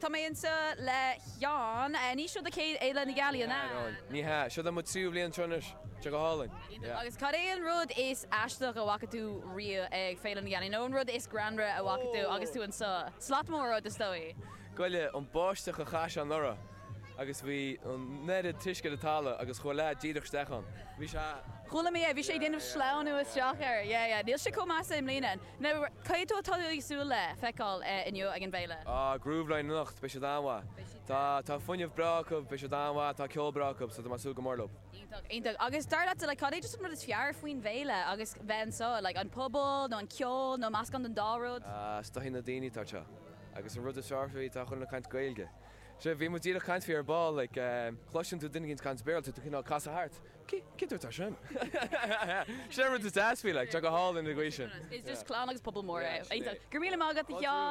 Tá mé anseo le Sheán. Ní seo do chéad Fhéile na Gealaí, an ea? Ní hea. Seo mo tríú bhliain anseo anois. Tá sé go hálainn. Iontach. Agus cad é an rud is aisteach a bhfaca tú riamh ag Féile na Gealaí? Nó an rud is greannmhaire a bhfaca tú agus tú anseo? Slat mór rud, is dóigh. Goile, an báisteach a chaith sé anuraidh agus bhí an oiread t-uisce ar an talamh agus chuaigh leaid díreach isteach ann. Bhí sé. Chuala mé é, bhí sé ag déanamh sleamhnú isteach air. Yeah, yeah. Níl sé chomh measa i mbliana. Now, cad é atá tú ag súil le feiceáil inniu ag an bhféile? Ah, Grooveline anocht, beidh siad an-mhaith. Tá, tá fuinneamh breá acu, beidh siad an-mhaith, tá ceol breá acu, so tá mé ag súil go mór leo. Iontach, iontach. Agus dar leatsa, like, cad é just an rud is fearr faoin bhféile agus bheith anseo? Like, an pobal nó an ceol nó meascán den dá rud? Ah, is dóigh na daoine atá anseo. Agus an rud is fearr faoi, tá chuile dhuine ag caint Gaeilge. Sea, bhí muid díreach ag caint faoi ar ball, like, cloiseann tú duine éicint ag caint Béarla, tá tú cineál casadh thart. Cé dúirt é sin? Sin an rud is deas faoi, like, tá go hálainn an gcaoi sin. Is just clann agus pobal mór é. Go raibh míle maith agat, a Sheáin.